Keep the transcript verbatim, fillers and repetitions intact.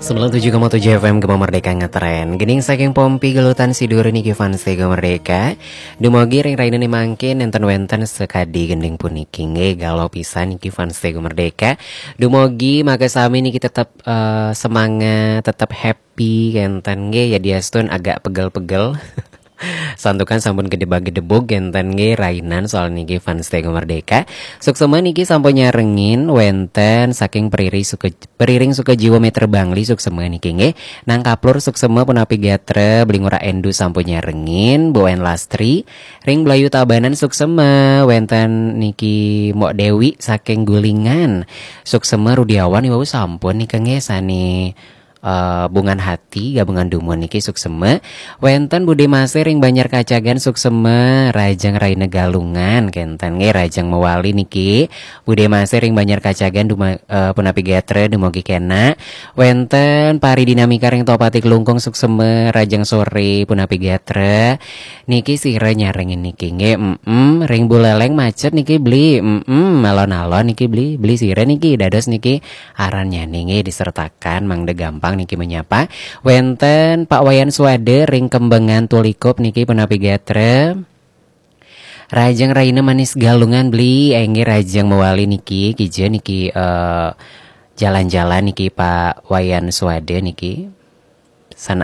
Sembilan tujuh koma tujuh F M Gema Merdeka ngetren. Gending saking Pompi Gelutan Sidur niki fans Gema Merdeka. Dumogi ring rainane mangkin nenten wenten sekadi gending puniki nggih, galo pisan niki fans Gema Merdeka. Dumogi maka sami niki tetep eh, semangat, tetep happy kenten nggih, ya diastun agak pegel-pegel. Santukan sampun gedebag-gedebug kenten nggih rainan soal niki fans Gema Merdeka. Suksema niki sampun nyarengin wenten saking periri suka Periring Sukajiwa Meter Bangli suksema niki nggih. Nang Kaplur suksema punapi gatra, Beli Ngurah Endu sampun nyarengin, Bu Wen Lastri, ring Blayu Tabanan suksema, wenten niki Mok Dewi saking Gulingan. Suksema Rudiawan iwau sampun nika nggih sane eh, Bungan Hati gabungan dumun niki suksema. Wenten Bude Mase ring Banjar Kacagan suksema, Rajeng Raina Galungan kenten nggih, Rajeng Mewali niki. Bude Mase ring Banjar Kacagan duma, eh, punapi gatra, dumogi kena. Wenten Pari Dinamika ring Topati Klungkung suksema, Rajeng Sore punapi gatra. Niki sira nyarengin niki nggih. Mm, ring Buleleng macet niki Beli. Mm, alon-alon niki Beli. Beli sira niki dados niki aran nyane nggih disertakan mangda gampang niki menyapa. Wenten Pak Wayan Suwade ring Kembengan Tulikup niki punapi gatra. Rajeng Raina Manis Galungan Beli, enggih Rajeng Mewali niki, kija niki eh, jalan-jalan niki Pak Wayan Suwade niki. Sana